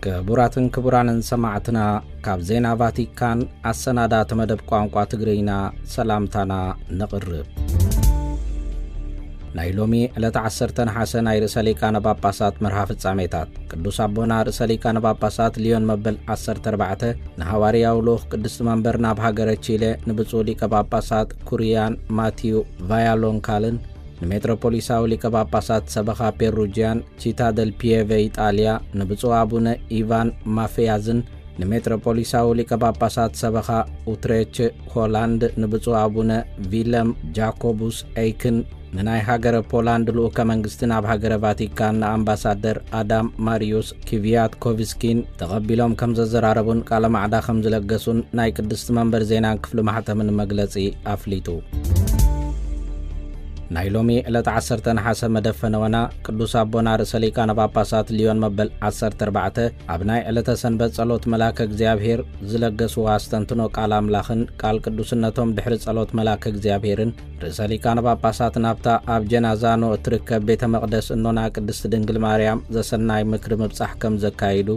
ክቡራትን ክቡራንን ሰማዕትና፣ ካብ ዜና ቫቲካን ኣሰናዳእቲ መደብ ቋንቋ ትግርኛ ሰላምታና ነቕርብ። ናይ ሎሚ ዕለተ ዓሰርተ ነሓሰ ናይ ርእሰ ሊቃነ ጳጳሳት መርሃ ፍጻሜታት። ቅዱስ ኣቦና ርእሰ ሊቃነ ጳጳሳት ሊዮን መበል ዓሰርተ ኣርባዕተ ንሃዋርያዊ ልኡኽ ቅድስቲ መንበር ናብ ሃገረ ቺለ ንብፁዕ ሊቀ ጳጳሳት ኩሪያን ማቲዩ ቫያሎንካልን፣ ንሜትሮፖሊሳዊ ሊቀ ጳጳሳት ሰበኻ ፔሩጅያን ቺታ ደል ፒየቨ ኢጣልያ ንብፁዕ ኣቡነ ኢቫን ማፍያዝን፣ ንሜትሮፖሊሳዊ ሊቀ ጳጳሳት ሰበኻ ኡትሬች ሆላንድ ንብፁዕ ኣቡነ ቪለም ጃኮቡስ ኤይክን፣ ንናይ ሃገረ ፖላንድ ልኡከ መንግስቲ ናብ ሃገረ ቫቲካን ንኣምባሳደር ኣዳም ማሪዩስ ኪቪያትኮቭስኪን ተቐቢሎም ከም ዘዘራረቡን ቃለ ማዕዳ ከም ዝለገሱን ናይ ቅድስቲ መንበር ዜናን ክፍሊ ማሕተምን መግለጺ ኣፍሊጡ። ናይ ሎሚ ዕለት ዓሰርተ ነሓሰ መደፈነወና ቅዱስ ኣቦና ርእሰ ሊቃነ ጳጳሳት ሊዮን መበል ዓሰርተ ኣርባዕተ ኣብ ናይ ዕለተ ሰንበት ጸሎት መልኣከ እግዚኣብሔር ዝለገስዎ ኣስተንትኖ ቃል ኣምላኽን ቃል ቅዱስነቶም ድሕሪ ጸሎት መልኣከ እግዚኣብሔርን ርእሰ ሊቃነ ጳጳሳት ናብታ ኣብ ጀናዛኖ እትርከብ ቤተ መቕደስ እኖና ቅድስቲ ድንግል ማርያም ዘሰናይ ምክሪ ምብጻሕ ከም ዘካይዱ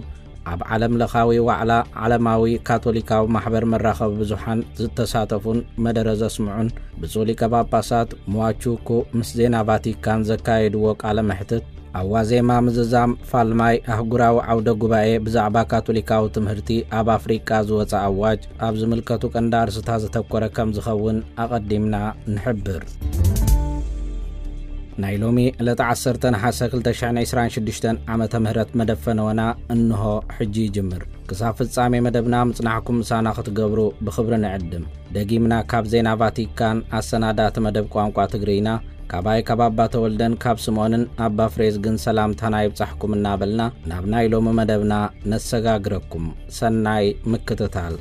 ኣብ ዓለም ለኻዊ ዋዕላ ዓለማዊ ካቶሊካዊ ማሕበር መራኸቢ ብዙሓን ዝተሳተፉን መደረ ዘስምዑን ብፁዕ ሊቀ ጳጳሳት ሟቹኩ ምስ ዜና ቫቲካን ዘካየድዎ ቃለ መሕትት፣ ኣብ ዋዜማ ምዝዛም ፋልማይ ኣህጉራዊ ዓውደ ጉባኤ ብዛዕባ ካቶሊካዊ ትምህርቲ ኣብ ኣፍሪቃ ዝወጸ ኣዋጅ ኣብ ዝምልከቱ ቀንዲ ኣርስታት ዘተኮረ ከም ዝኸውን ኣቐዲምና ንሕብር። ናይ ሎሚ ዕለተ ዓሰርተ ነሓሰ ክልተ ሽሕን ዕስራን ሽዱሽተን ዓመተ ምህረት መደፈነወና እንሆ ሕጂ ይጅምር። ክሳብ ፍጻሜ መደብና ምጽናሕኩም ምሳና ክትገብሩ ብኽብሪ ንዕድም። ደጊምና ካብ ዜና ቫቲካን ኣሰናዳእቲ መደብ ቋንቋ ትግርይና፣ ካባይ ካብ ኣባ ተወልደን ካብ ስምኦንን ኣባ ፍሬዝግን ሰላምታና ይብጻሕኩም እናበልና ናብ ናይ ሎሚ መደብና ነሰጋግረኩም። ሰናይ ምክትታል።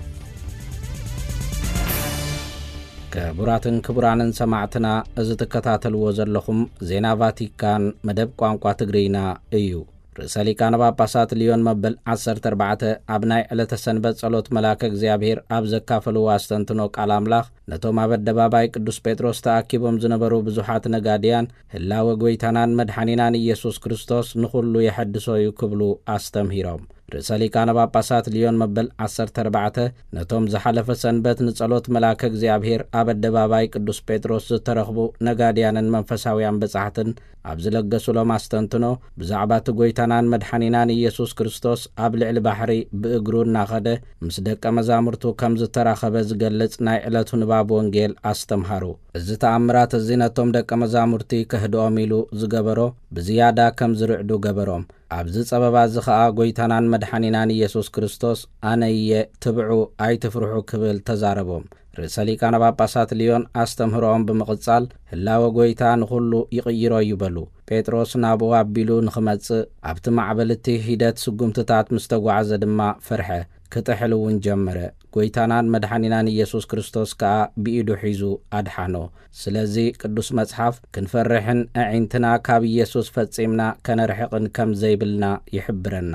ክቡራትን ክቡራንን ሰማዕትና፣ እዚ ትከታተልዎ ዘለኹም ዜና ቫቲካን መደብ ቋንቋ ትግርይና እዩ። ርእሰ ሊቃነ ጳጳሳት ሊዮን መበል ዓሰርተ ኣርባዕተ ኣብ ናይ ዕለተ ሰንበት ጸሎት መልኣከ እግዚኣብሔር ኣብ ዘካፈልዎ ኣስተንትኖ ቃል ኣምላኽ፣ ነቶም ኣብ ኣደባባይ ቅዱስ ጴጥሮስ ተኣኪቦም ዝነበሩ ብዙሓት ነጋድያን፣ ህላወ ጐይታናን መድሓኒናን ኢየሱስ ክርስቶስ ንኹሉ የሐድሶ እዩ ክብሉ ኣስተምሂሮም። ርእሰ ሊቃነ ጳጳሳት ሊዮን መበል ዓሰርተ ኣርባዕተ ነቶም ዝሓለፈ ሰንበት ንጸሎት መልኣከ እግዚኣብሔር ኣብ ኣደባባይ ቅዱስ ጴጥሮስ ዝተረኽቡ ነጋድያንን መንፈሳውያን በጻሕትን ኣብ ዝለገሱሎም ኣስተንትኖ፣ ብዛዕባ እቲ ጐይታናን መድሓኒናን ኢየሱስ ክርስቶስ ኣብ ልዕሊ ባሕሪ ብእግሩ እናኸደ ምስ ደቀ መዛሙርቱ ከም ዝተራኸበ ዝገልጽ ናይ ዕለቱ ንባብ ወንጌል ኣስተምሃሩ። እዚ ተኣምራት እዚ ነቶም ደቀ መዛሙርቲ ከህድኦም ኢሉ ዝገበሮ ብዝያዳ ከም ዝርዕዱ ገበሮም። ኣብዚ ጸበባ እዚ ኸኣ ጐይታናን መድሓኒናን ኢየሱስ ክርስቶስ፣ "ኣነ እየ፣ ትብዑ፣ ኣይትፍርሑ" ክብል ተዛረቦም። ርእሰ ሊቃነ ጳጳሳት ሊዮን ኣስተምህሮኦም ብምቕጻል፣ ህላወ ጐይታ ንኹሉ ይቕይሮ እዩ በሉ። ጴጥሮስ ናብኡ ኣቢሉ ንኽመጽእ፣ ኣብቲ ማዕበል እቲ ሂደት ስጉምትታት ምስ ተጓዕዘ ድማ ፈርሐ፣ ክጥሕል እውን ጀመረ። ጐይታናን መድሓኒናን ኢየሱስ ክርስቶስ ከኣ ብኢዱ ሒዙ ኣድሓኖ። ስለዚ ቅዱስ መጽሓፍ ክንፈርሕን ኣዒንትና ካብ ኢየሱስ ፈጺምና ከነርሕቕን ከም ዘይብልና ይሕብረና።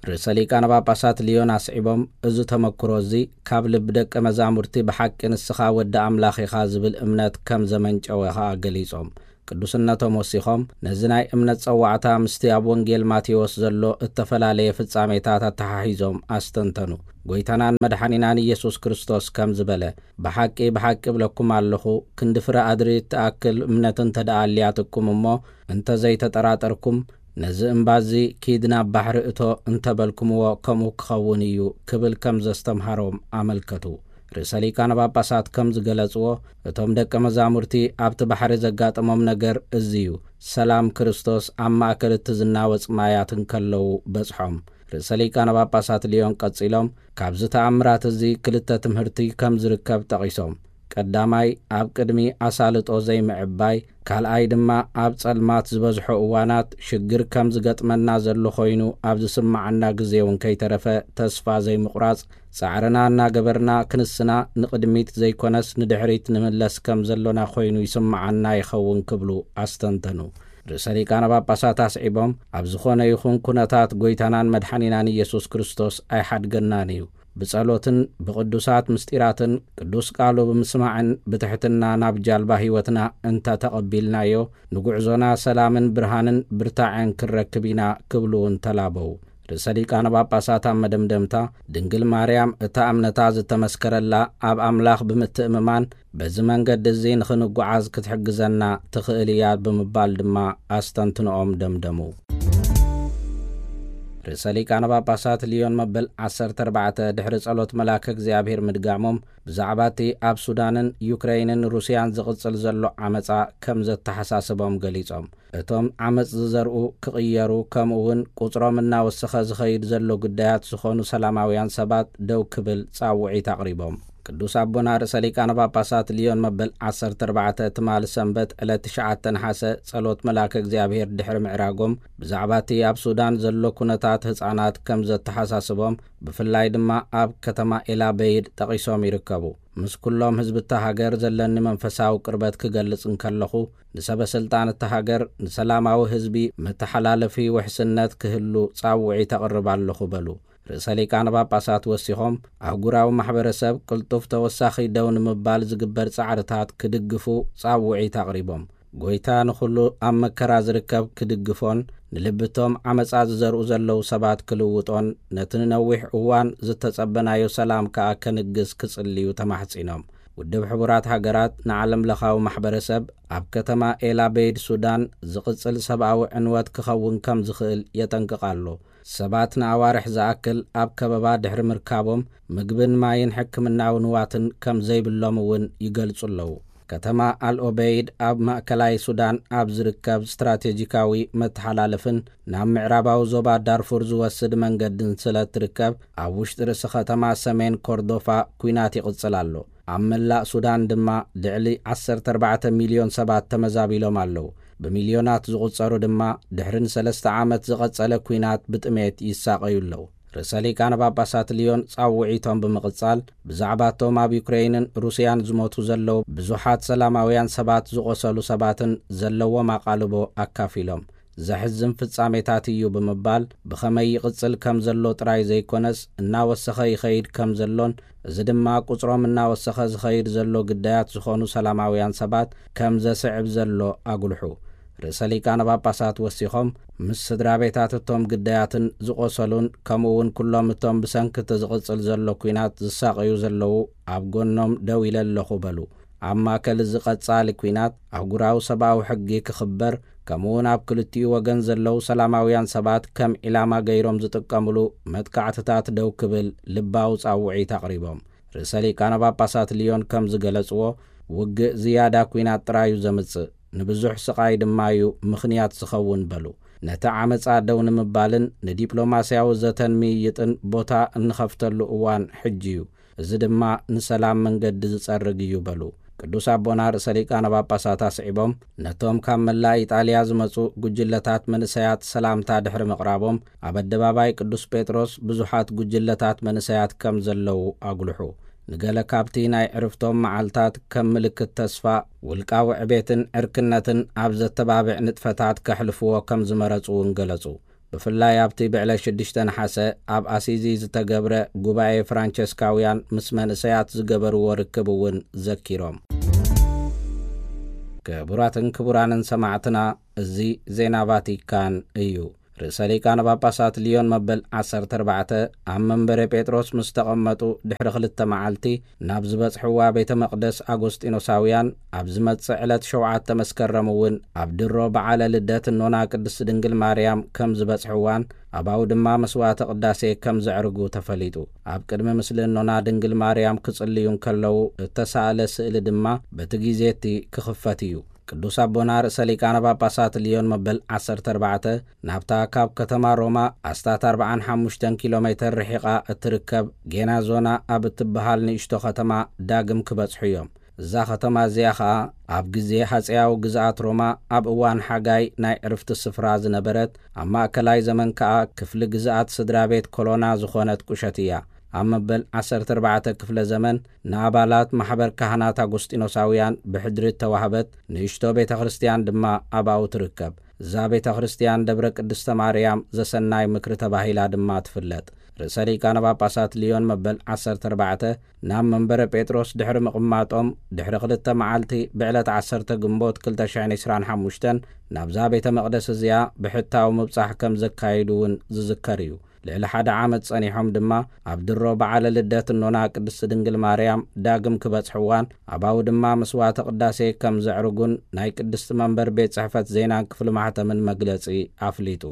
ርእሰ ሊቃነ ጳጳሳት ሊዮን ኣስዒቦም፣ እዚ ተመክሮ እዚ ካብ ልቢ ደቀ መዛሙርቲ ብሓቂ ንስኻ ወዲ ኣምላኽ ኢኻ ዝብል እምነት ከም ዘመንጨወ ኸኣ ገሊጾም። ቅዱስነቶም ወሲኾም፣ ነዚ ናይ እምነት ጸዋዕታ ምስቲ ኣብ ወንጌል ማቴዎስ ዘሎ እተፈላለየ ፍጻሜታት ኣተሓሒዞም ኣስተንተኑ። ጐይታናን መድሓኒናን ኢየሱስ ክርስቶስ ከም ዝበለ፣ "ብሓቂ፣ ብሓቂ እብለኩም ኣለኹ፣ ክንዲ ፍረ ኣድሪ እትኣክል እምነት እንተ ደኣ ኣልያትኩም እሞ፣ እንተ ዘይተጠራጠርኩም፣ ነዚ እምባ እዚ፣ 'ኪድ ናብ ባሕሪ እቶ' እንተ በልኩምዎ፣ ከምኡ ክኸውን እዩ" ክብል ከም ዘስተምሃሮም ኣመልከቱ። ርእሰ ሊቃነ ጳጳሳት ከም ዝገለጽዎ፣ እቶም ደቀ መዛሙርቲ ኣብቲ ባሕሪ ዘጋጠሞም ነገር እዚ እዩ። ሰላም ክርስቶስ ኣብ ማእከል እቲ ዝናወጽ ማያት እንከለዉ በጽሖም። ርእሰ ሊቃነ ጳጳሳት ሊዮን ቀጺሎም፣ ካብዚ ተኣምራት እዚ ክልተ ትምህርቲ ከም ዝርከብ ጠቒሶም። ቀዳማይ፣ ኣብ ቅድሚ ኣሳልጦ ዘይምዕባይ፣ ካልኣይ ድማ ኣብ ጸልማት ዝበዝሖ እዋናት ሽግር ከም ዝገጥመና ዘሎ ኮይኑ ኣብ ዝስምዓና ግዜ እውን ከይተረፈ ተስፋ ዘይምቑራጽ፣ ጻዕርና እናገበርና ክንስና ንቕድሚት ዘይኮነስ ንድሕሪት ንምለስ ከም ዘሎና ኮይኑ ይስምዓና ይኸውን ክብሉ ኣስተንተኑ። ርእሰ ሊቃነ ጳጳሳት ኣስዒቦም፣ ኣብ ዝኾነ ይኹን ኩነታት ጐይታናን መድሓኒናን ኢየሱስ ክርስቶስ ኣይሓድገናን እዩ። ብጸሎትን ብቕዱሳት ምስጢራትን ቅዱስ ቃሉ ብምስማዕን ብትሕትና ናብ ጃልባ ህይወትና እንተ ተቐቢልናዮ፣ ንጉዕዞና ሰላምን ብርሃንን ብርታዐን ክንረክብ ኢና ክብሉ እውን ተላበዉ። ርእሰ ሊቃነ ጳጳሳት ኣብ መደምደምታ፣ ድንግል ማርያም እታ እምነታ ዝተመስከረላ ኣብ ኣምላኽ ብምትእምማን በዚ መንገዲ እዚ ንኽንጓዓዝ ክትሕግዘና ትኽእል እያ ብምባል ድማ ኣስተንትንኦም ደምደሙ። ርእሰ ሊቃነ ጳጳሳት ሊዮን መበል ዓሰርተ ኣርባዕተ ድሕሪ ጸሎት መልኣከ እግዚኣብሔር ምድጋሞም፣ ብዛዕባ እቲ ኣብ ሱዳንን ዩክረይንን ሩስያን ዝቕጽል ዘሎ ዓመጻ ከም ዘተሓሳስቦም ገሊጾም። እቶም ዓመጽ ዝዘርኡ ክቕየሩ፣ ከምኡ እውን ቁጽሮም እናወሰኸ ዝኸይድ ዘሎ ግዳያት ዝኾኑ ሰላማውያን ሰባት ደው ክብል ጻውዒት ኣቕሪቦም። ቅዱስ ኣቦና ርእሰ ሊቃነ ጳጳሳት ሊዮን መበል ዓሰርተ ኣርባዕተ ትማሊ ሰንበት ዕለት ትሽዓተ ነሓሰ ጸሎት መልኣከ እግዚኣብሔር ድሕሪ ምዕራጎም፣ ብዛዕባ እቲ ኣብ ሱዳን ዘሎ ኩነታት ህጻናት ከም ዘተሓሳስቦም፣ ብፍላይ ድማ ኣብ ከተማ ኤላበይድ ጠቒሶም ይርከቡ። ምስ ኩሎም ህዝቢ እታ ሃገር ዘለኒ መንፈሳዊ ቅርበት ክገልጽ እንከለኹ፣ ንሰበ ስልጣን እታ ሃገር ንሰላማዊ ህዝቢ መተሓላለፊ ውሕስነት ክህሉ ጻውዒት ኣቕርብ ኣለኹ በሉ። ርእሰ ሊቃነ ጳጳሳት ወሲኾም፣ ኣህጉራዊ ማሕበረሰብ ቅልጡፍ ተወሳኺ ደው ንምባል ዝግበር ጻዕርታት ክድግፉ ጻውዒት ኣቕሪቦም። ጎይታ ንኹሉ ኣብ መከራ ዝርከብ ክድግፎን ንልብቶም ዓመጻ ዝዘርኡ ዘለዉ ሰባት ክልውጦን ነቲ ንነዊሕ እዋን ዝተጸበናዮ ሰላም ከኣ ከንግስ ክጽልዩ ተማሕጺኖም። ውድብ ሕቡራት ሃገራት ንዓለም ለኻዊ ማሕበረሰብ ኣብ ከተማ ኤላበይድ ሱዳን ዝቕጽል ሰብኣዊ ዕንወት ክኸውን ከም ዝኽእል የጠንቅቕ ኣሎ። ሰባት ንኣዋርሕ ዝኣክል ኣብ ከበባ ድሕሪ ምርካቦም ምግብን ማይን ሕክምናዊ ንዋትን ከም ዘይብሎም እውን ይገልጹ ኣለዉ። ከተማ ኣልኦበይድ ኣብ ማእከላይ ሱዳን ኣብ ዝርከብ ስትራቴጂካዊ መተሓላለፍን ናብ ምዕራባዊ ዞባ ዳርፉር ዝወስድ መንገድን ስለ እትርከብ፣ ኣብ ውሽጢ ርእሲ ከተማ ሰሜን ኮርዶፋ ኲናት ይቕጽል ኣሎ። ኣብ መላእ ሱዳን ድማ ልዕሊ ዓሰርተ ኣርባዕተ ሚልዮን ሰባት ተመዛቢሎም ኣለዉ። ብሚልዮናት ዝቑጸሩ ድማ ድሕሪ ንሰለስተ ዓመት ዝቐጸለ ኲናት ብጥሜት ይሳቐዩ ኣለዉ። ርእሰ ሊቃነ ጳጳሳት ሊዮን ጻውዒቶም ብምቕጻል፣ ብዛዕባቶም ኣብ ዩክረይንን ሩስያን ዝሞቱ ዘለዉ ብዙሓት ሰላማውያን ሰባት፣ ዝቖሰሉ ሰባትን ዘለዎም ኣቓልቦ ኣካፊሎም፣ ዘሕዝን ፍጻሜታት እዩ ብምባል፣ ብኸመይ ይቕጽል ከም ዘሎ ጥራይ ዘይኮነስ፣ እናወሰኸ ይኸይድ ከም ዘሎን፣ እዚ ድማ ቁጽሮም እናወሰኸ ዝኸይድ ዘሎ ግዳያት ዝኾኑ ሰላማውያን ሰባት ከም ዘስዕብ ዘሎ ኣጉልሑ። ርእሰ ሊቃነ ጳጳሳት ወሲኾም፣ ምስ ስድራ ቤታት እቶም ግዳያትን ዝቖሰሉን፣ ከምኡ እውን ኩሎም እቶም ብሰንኪ እቲ ዝቕጽል ዘሎ ኲናት ዝሳቐዩ ዘለዉ ኣብ ጎኖም ደው ኢለ ኣለኹ በሉ። ኣብ ማእከል እዚ ቀጻሊ ኲናት፣ ኣህጉራዊ ሰብኣዊ ሕጊ ክኽበር፣ ከምኡውን ኣብ ክልቲኡ ወገን ዘለዉ ሰላማውያን ሰባት ከም ዒላማ ገይሮም ዝጥቀምሉ መጥቃዕትታት ደው ክብል ልባዊ ጻውዒት ኣቕሪቦም። ርእሰ ሊቃነ ጳጳሳት ሊዮን ከም ዝገለጽዎ፣ ውግእ ዝያዳ ኲናት ጥራይ እዩ ዘምጽእ፣ ንብዙሕ ስቓይ ድማ እዩ ምኽንያት ዝኸውን በሉ። ነቲ ዓመጻ ደው ንምባልን ንዲፕሎማስያዊ ዘተን ምይይጥን ቦታ እንኸፍተሉ እዋን ሕጂ እዩ። እዚ ድማ ንሰላም መንገዲ ዝጸርግ እዩ በሉ። ቅዱስ ኣቦና ርእሰ ሊቃነ ጳጳሳት ኣስዒቦም፣ ነቶም ካብ መላእ ኢጣልያ ዝመጹ ጉጅለታት መንእሰያት ሰላምታ ድሕሪ ምቕራቦም፣ ኣብ ኣደባባይ ቅዱስ ጴጥሮስ ብዙሓት ጉጅለታት መንእሰያት ከም ዘለዉ ኣጉልሑ። ንገለ ካብቲ ናይ ዕርፍቶም መዓልታት ከም ምልክት ተስፋ፣ ውልቃዊ ዕቤትን ዕርክነትን ኣብ ዘተባብዕ ንጥፈታት ከሕልፍዎ ከም ዝመረጹ እውን ገለጹ። ብፍላይ ኣብቲ ብዕለት ሽዱሽተ ነሓሰ ኣብ ኣሲዚ ዝተገብረ ጉባኤ ፍራንቸስካውያን ምስ መንእሰያት ዝገበርዎ ርክብ እውን ዘኪሮም። ክቡራትን ክቡራንን ሰማዕትና፣ እዚ ዜና ቫቲካን እዩ። ርእሰ ሊቃነ ጳጳሳት ሊዮን መበል ዓሰርተ ኣርባዕተ ኣብ መንበረ ጴጥሮስ ምስ ተቐመጡ ድሕሪ ክልተ መዓልቲ፣ ናብ ዝበጽሕዋ ቤተ መቕደስ ኣጎስጢኖሳውያን ኣብ ዝመጽእ ዕለት ሸውዓተ መስከረም እውን ኣብ ድሮ በዓለ ልደት እኖና ቅድስት ድንግል ማርያም ከም ዝበጽሕዋን፣ ኣብኡ ድማ መስዋዕተ ቅዳሴ ከም ዘዕርጉ ተፈሊጡ። ኣብ ቅድሚ ምስሊ እኖና ድንግል ማርያም ክጽልዩ እንከለዉ እተሳእለ ስእሊ ድማ በቲ ግዜ እቲ ክኽፈት እዩ። ቅዱስ ኣቦና ርእሰ ሊቃነ ጳጳሳት ሊዮን መበል ዓሰርተ ኣርባዕተ ናብታ ካብ ከተማ ሮማ ኣስታት ኣርብዓን ሓሙሽተን ኪሎ ሜተር ርሒቓ እትርከብ ጌናዞና ኣብ እትበሃል ንእሽቶ ከተማ ዳግም ክበጽሑ እዮም። እዛ ከተማ እዚኣ ኸኣ ኣብ ግዜ ሃጸያዊ ግዝኣት ሮማ ኣብ እዋን ሓጋይ ናይ ዕርፍቲ ስፍራ ዝነበረት፣ ኣብ ማእከላይ ዘመን ከኣ ክፍሊ ግዝኣት ስድራ ቤት ኮሎና ዝኾነት ቁሸት እያ። ኣብ መበል ዓሰርተ ኣርባዕተ ክፍለ ዘመን ንኣባላት ማሕበር ካህናት ኣጎስጢኖሳውያን ብሕድሪ እተዋህበት ንእሽቶ ቤተ ክርስትያን ድማ ኣብኡ ትርከብ። እዛ ቤተ ክርስትያን ደብረ ቅድስተ ማርያም ዘሰናይ ምክሪ ተባሂላ ድማ ትፍለጥ። ርእሰ ሊቃነ ጳጳሳት ሊዮን መበል ዓሰርተ ኣርባዕተ ናብ መንበረ ጴጥሮስ ድሕሪ ምቕማጦም፣ ድሕሪ ክልተ መዓልቲ ብዕለት ዓሰርተ ግንቦት ክልተ ሽሕን ዕስራን ሓሙሽተን ናብዛ ቤተ መቕደስ እዚኣ ብሕታዊ ምብጻሕ ከም ዘካየዱ እውን ዝዝከር እዩ። ልዕሊ ሓደ ዓመት ጸኒሖም ድማ ኣብ ድሮ በዓለ ልደት እኖና ቅድስቲ ድንግል ማርያም ዳግም ክበጽሕዋን ኣባኡ ድማ መስዋዕተ ቅዳሴ ከም ዘዕርጉን ናይ ቅድስቲ መንበር ቤት ጽሕፈት ዜናን ክፍሊ ማሕተምን መግለጺ ኣፍሊጡ።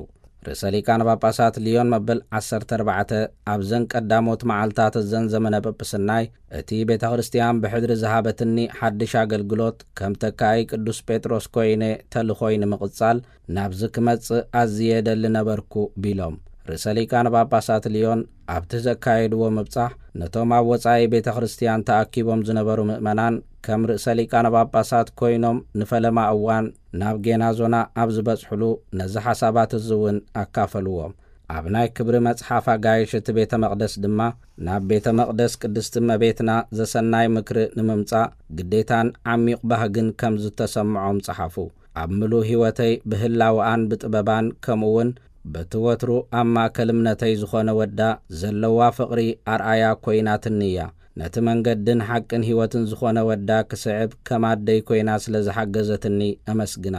ርእሰ ሊቃነ ጳጳሳት ሊዮን መበል ዓሰርተ ኣርባዕተ ኣብዘን ቀዳሞት መዓልታት እዘን ዘመነ ጵጵስናይ፣ እቲ ቤተ ክርስቲያን ብሕድሪ ዝሃበትኒ ሓድሽ ኣገልግሎት ከም ተካኢ ቅዱስ ጴጥሮስ ኮይነ ተልኾይ ንምቕጻል ናብዚ ክመጽእ ኣዝየ ደሊ ነበርኩ ቢሎም። ርእሰ ሊቃነ ጳጳሳት ሊዮን ኣብቲ ዘካየድዎ ምብጻሕ ነቶም ኣብ ወጻኢ ቤተ ክርስቲያን ተኣኪቦም ዝነበሩ ምእመናን ከም ርእሰ ሊቃነ ጳጳሳት ኮይኖም ንፈለማ እዋን ናብ ጌናዞና ኣብ ዝበጽሕሉ ነዚ ሓሳባት እዚ እውን ኣካፈልዎም። ኣብ ናይ ክብሪ መጽሓፍ ኣጋይሽ እቲ ቤተ መቕደስ ድማ ናብ ቤተ መቕደስ ቅድስቲ እመቤትና ዘሰናይ ምክሪ ንምምጻእ ግዴታን ዓሚቕ ባህግን ከም ዝተሰምዖም ጸሓፉ። ኣብ ምሉእ ህይወተይ ብህላወኣን ብጥበባን ከምኡ እውን በቲ ወትሩ ኣብ ማእከል እምነተይ ዝኾነ ወዳ ዘለዋ ፍቕሪ ኣርኣያ ኮይናትኒ እያ። ነቲ መንገድን ሓቅን ህይወትን ዝኾነ ወዳ ክስዕብ ከም ኣደይ ኮይና ስለ ዝሓገዘትኒ እመስግና።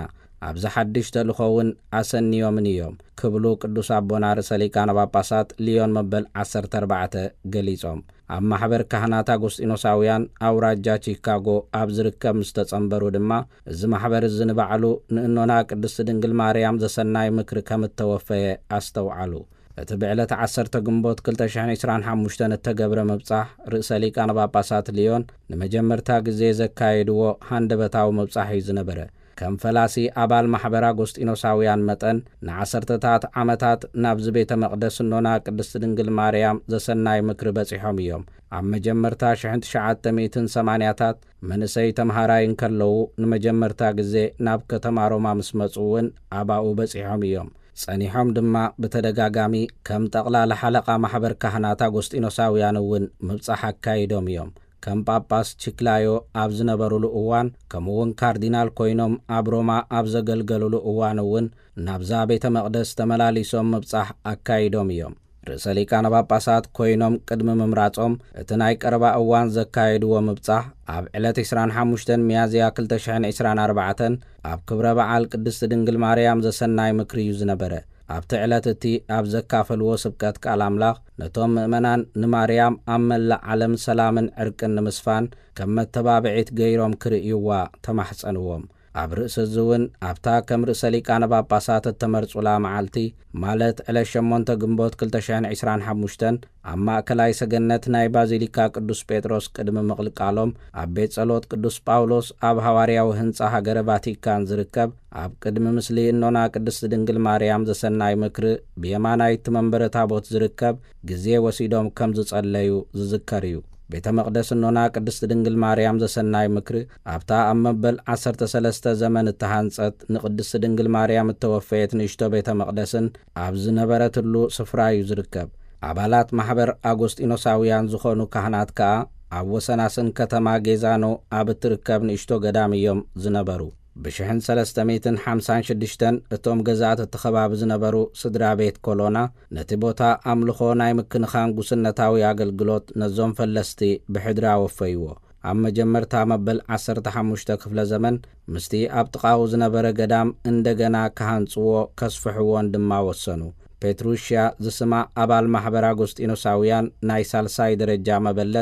ኣብዚ ሓድሽ ተልእኾ እውን ኣሰንዮምን እዮም ክብሉ ቅዱስ ኣቦና ርእሰ ሊቃነ ጳጳሳት ሊዮን መበል ዓሰርተ ኣርባዕተ ገሊጾም። ኣብ ማሕበር ካህናት ኣጎስጢኖሳውያን ኣውራጃ ቺካጎ ኣብ ዝርከብ ምስ ተጸንበሩ ድማ፣ እዚ ማሕበር እዚ ንባዕሉ ንእኖና ቅድስቲ ድንግል ማርያም ዘሰናይ ምክሪ ከም እተወፈየ ኣስተውዓሉ። እቲ ብዕለት ዓሰርተ ግንቦት ክልተ ሽሕን ዕስራን ሓሙሽተን እተገብረ ምብጻሕ ርእሰ ሊቃነ ጳጳሳት ሊዮን ንመጀመርታ ግዜ ዘካየድዎ ሃንደበታዊ ምብጻሕ እዩ ዝነበረ። ከም ፈላሲ ኣባል ማሕበር ኣጎስጢኖሳውያን መጠን፣ ንዓሰርተታት ዓመታት ናብዚ ቤተ መቕደስ እኖና ቅድስቲ ድንግል ማርያም ዘሰናይ ምክሪ በጺሖም እዮም። ኣብ መጀመርታ ሽሕን ትሽዓተ ሚእትን ሰማንያታት መንእሰይ ተምሃራይ እንከለዉ ንመጀመርታ ግዜ ናብ ከተማ ሮማ ምስ መጹ እውን ኣባኡ በጺሖም እዮም። ጸኒሖም ድማ ብተደጋጋሚ ከም ጠቕላላ ሓለቓ ማሕበር ካህናት ኣጎስጢኖሳውያን እውን ምብጻሕ ኣካይዶም እዮም። ከም ጳጳስ ቺክላዮ ኣብ ዝነበሩሉ እዋን፣ ከምኡ እውን ካርዲናል ኮይኖም ኣብ ሮማ ኣብ ዘገልገሉሉ እዋን እውን ናብዛ ቤተ መቕደስ ተመላሊሶም ምብጻሕ ኣካይዶም እዮም። ርእሰ ሊቃነ ጳጳሳት ኮይኖም ቅድሚ ምምራጾም፣ እቲ ናይ ቀረባ እዋን ዘካየድዎ ምብጻሕ ኣብ ዕለት ዕስራን ሓሙሽተን ሚያዝያ ክልተ ሽሕን ዕስራን ኣርባዕተን ኣብ ክብረ በዓል ቅድስቲ ድንግል ማርያም ዘሰናይ ምክሪ እዩ ዝነበረ። ኣብቲ ዕለት እቲ ኣብ ዘካፈልዎ ስብከት ቃል ኣምላኽ፣ ነቶም ምእመናን ንማርያም ኣብ መላእ ዓለም ሰላምን ዕርቅን ንምስፋን ከም መተባብዒት ገይሮም ክርእይዋ ተማሕጸንዎም። ኣብ ርእሲ እዚ እውን ኣብታ ከም ርእሰ ሊቃነ ጳጳሳት እተመርጹላ መዓልቲ፣ ማለት ዕለት ሸሞንተ ግንቦት ክልተ ሽሕን ዕስራን ሓሙሽተን ኣብ ማእከላይ ሰገነት ናይ ባዚሊካ ቅዱስ ጴጥሮስ ቅድሚ ምቕልቃሎም፣ ኣብ ቤት ጸሎት ቅዱስ ጳውሎስ ኣብ ሃዋርያዊ ህንጻ ሃገረ ቫቲካን ዝርከብ ኣብ ቅድሚ ምስሊ እኖና ቅድስቲ ድንግል ማርያም ዘሰናይ ምክሪ ብየማናይ እቲ መንበረ ታቦት ዝርከብ ግዜ ወሲዶም ከም ዝጸለዩ ዝዝከር እዩ። ቤተ መቕደስ እኖና ቅድስቲ ድንግል ማርያም ዘሰናይ ምክሪ ኣብታ ኣብ መበል ዓሰርተ ሰለስተ ዘመን እተሃንጸት ንቅድስቲ ድንግል ማርያም እተወፈየት ንእሽቶ ቤተ መቕደስን ኣብ ዝነበረትሉ ስፍራ እዩ ዝርከብ። ኣባላት ማሕበር ኣጎስጢኖሳውያን ዝኾኑ ካህናት ከኣ ኣብ ወሰናስን ከተማ ጌዛኖ ኣብ እትርከብ ንእሽቶ ገዳም እዮም ዝነበሩ። ብሽሕን ሰለስተ ሚእትን ሓምሳን ሽዱሽተን እቶም ገዛእቲ እቲ ከባቢ ዝነበሩ ስድራ ቤት ኮሎና ነቲ ቦታ ኣምልኾ ናይ ምክንኻን ጉስነታዊ ኣገልግሎት ነዞም ፈለስቲ ብሕድሪ ኣወፈይዎ። ኣብ መጀመርታ መበል ዓሰርተ ሓሙሽተ ክፍለ ዘመን ምስቲ ኣብ ጥቓኡ ዝነበረ ገዳም እንደገና ክሃንጽዎ ከስፍሕዎን ድማ ወሰኑ። ፔትሩሽያ ዝስማ ኣባል ማሕበር ኣጎስጢኖሳውያን ናይ ሳልሳይ ደረጃ መበለት